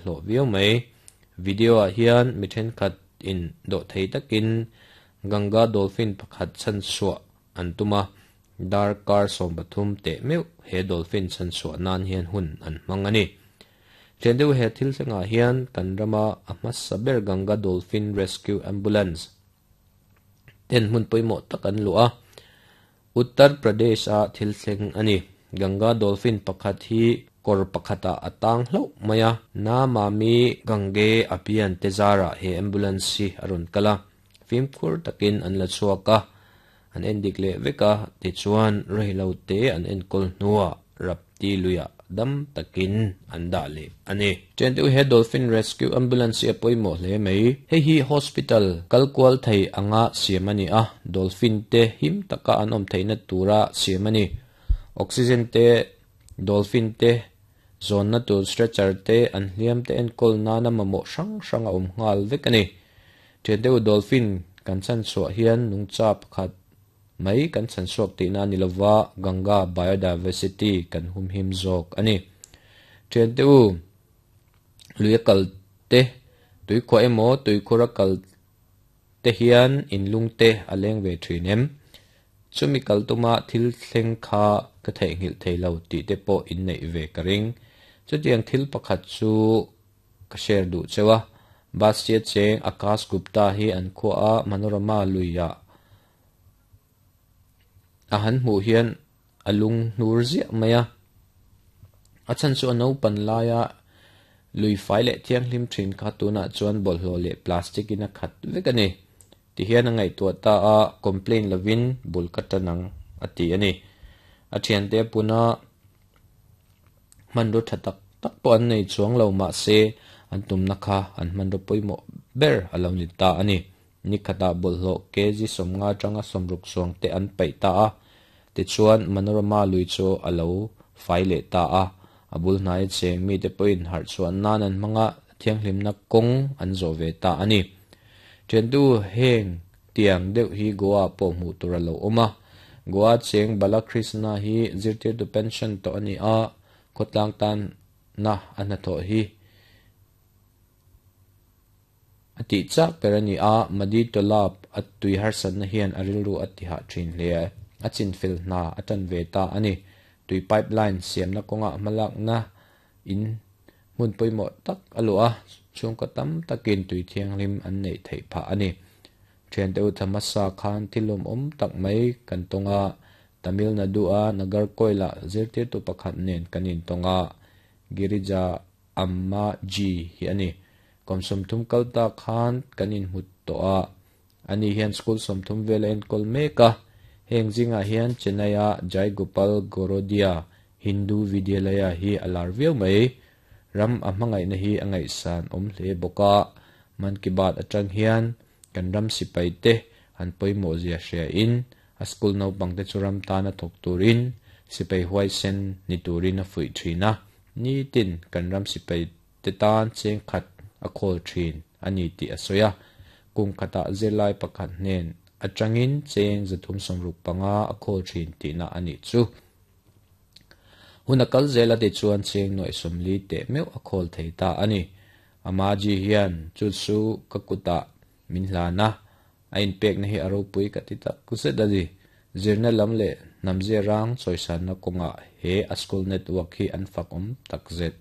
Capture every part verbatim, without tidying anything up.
Hlawh viau mai. Video ah hian mi thenkhat in dawhthei takin Ganga dolphin pakhat chhanchhuah an tum a, darkar sawm pathum teh meuh he dolphin chhanchhuah nan hian hun an hmang a ni. Thian deuh he thil thlengah hian kan rama a hmasa ber Ganga Dolphin Rescue Ambulance ten hmun pawimawh tak an luh a, Uttar Pradesh a thil thleng a ni. Ganga dolphin pakhat hi kawr pakhatah a tang hlauh mai a, Namami Gange Abhiyan te zarah he ambulance hi a rawn kal a, fimkhur takin an la chhuak a, an en dik leh vek a, tichuan reilo te an enkawl hnuah Rapti luiah dam takin an dah leh a ni. Chen deuh he Dolphin Rescue Ambulance hi a pawimawh hle mai. Hei hi hospital kal kual thei anga siam a ni a, dolphin te him taka an awm theihna tura siam a ni. Oxygen te, dolphin te zawnna tur stretcher te, an hliam te enkawl nana mamawh hrang hrang a awm nghal vek a ni. Chen deuh dolphin kan chhanchhuah hian nungcha pakhat mai kan chhanchhuak tihna a ni lova, Ganga biodiversity kan humhim zawk a ni. Chen deuh lui a kal te, tuikhuah emaw tuikhur a kal te hian inlung te a leng ve thin em? Chumi kal tuma thil thleng kha ka theihnghilh thei lo tih te pawh inneih ve ka ring. Chutiang thil pakhat chu ka share duh cheu a, Bastia cheng Akash Gupta hi an khua a Manorama luiah a han hmuh hian a lung hnur ziah mai a. A chhan chu a naupan laia lui fai leh thianghlim thin kha tunah chuan bawlhhlawh leh plastic in a khat vek a ni. Tihian a ngaihtuah ta a, complain lovin bul ka tan ang a ti a ni. A thiante a puna hmanraw tha tak tak pawh an nei chuang lo, mahse an tumna kha an hmanraw pawimawh ber a lo ni ta a ni. Ni khatah bawlhhlawh kg sawmnga atanga sawmruk chuang te an paih ta a, tichuan Manorama lui chu a lo fai leh ta a. A bul hnai cheng mite pawhin harh chhuah nan an hmanga thianghlimna kawng an zawh ve ta a ni. Thiantu heng tiang deuh hi Goa pawh hmuh tur a lo awm a. Goa cheng Balakrishna hi zirtirtu pension tawh a ni a, khawtlang tanna a hnathawh hi a tih chak ber a ni a, Madi Tolap a tui harsatna hian a rilru a tihah thin hle a chinfel hna a tan ve ta a ni. Tui pipeline siamna kawngah hmalakna in hmun pawimawh tak a luh a, chhungkaw tam takin tui thianghlim an neih theih phah a ni. Thiante u Thamasa khan thil lawmawm tak mai kan tawng a, Tamil Nadu a Nagercoil ah zirtirtu pakhat nen kan intawng a, Girija Amma Ji hi a ni. Kum sawmthum kal ta khan kan inhmu tawh a, ani hian school sawmthum vel a enkawl mek a. Heng zingah hian Chennai a Jai Gopal Gorodia Hindu Vidyalaya hi a lar viau mai. Ram a hmangaihna hi a ngaihsan awm hle bawk a, Man Ki Baat atang hian kan ram sipai te an pawimawh zia hria in a school naupang te chu ram tana thawk turin sipai huaisen ni turin a fuih thin a, nitin kan ram sipai te tan cheng khat a khawl thin a ni tih a sawi a. Kum khatah zirlai pakhat hnen atangin cheng zathum sawmruk panga a khawl thin tihna a nih chu. Hun a kal zel a ti chuan cheng nuaih sawmli teh meuh a khawl thei ta a ni. Amaji hian chu chu ka kutah min hlan a, a inpekna hi a ropui ka ti tak zet a ni. Zirna lam leh hnamzia rang chawisanna kawngah he a school network hi an fak awm tak zet.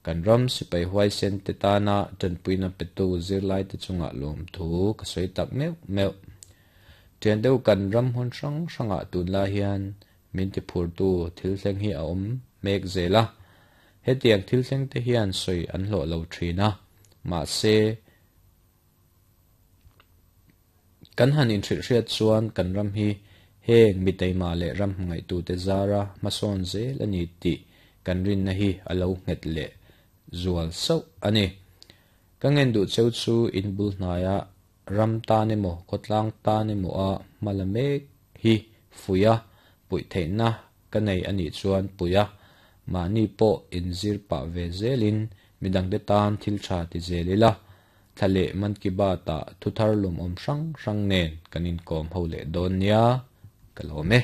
Kan ram sipai huaisen te tana tanpuina petu zirlai te chungah lawmthu ka sawi tak meuh meuh. Thian deuh kan ram hmun hrang hrangah tunlai hian min ti phurtu thil thleng hi a awm mek zel a. Hetiang thil thleng te hian sawi an hlawh lo thin a, mahse kan han inhrilhhriat chuan kan ram hi heng mi taima leh ram hmangaihtu te zara hmasawn zel a ni tih kan rinna hi a lo nghet leh zual sauh a ni. Ka ngen duh cheu chu in bul hnaia ram tan emaw khawtlang tan emaw a hma la mek hi fuih a, puih theihna ka nei a nih chuan puih a, mahni pawh inzir pah ve zelin midangte tan thil tha ti zel ila, thla leh Man Ki Baat ah thuthar lawmawm hrang hrang nen kan inkawm ho leh dawn nia, ka lawm e.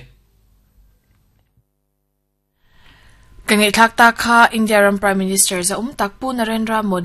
Ka ngai thak ta kha India ram Prime Minister za um tak pu Narendra Modi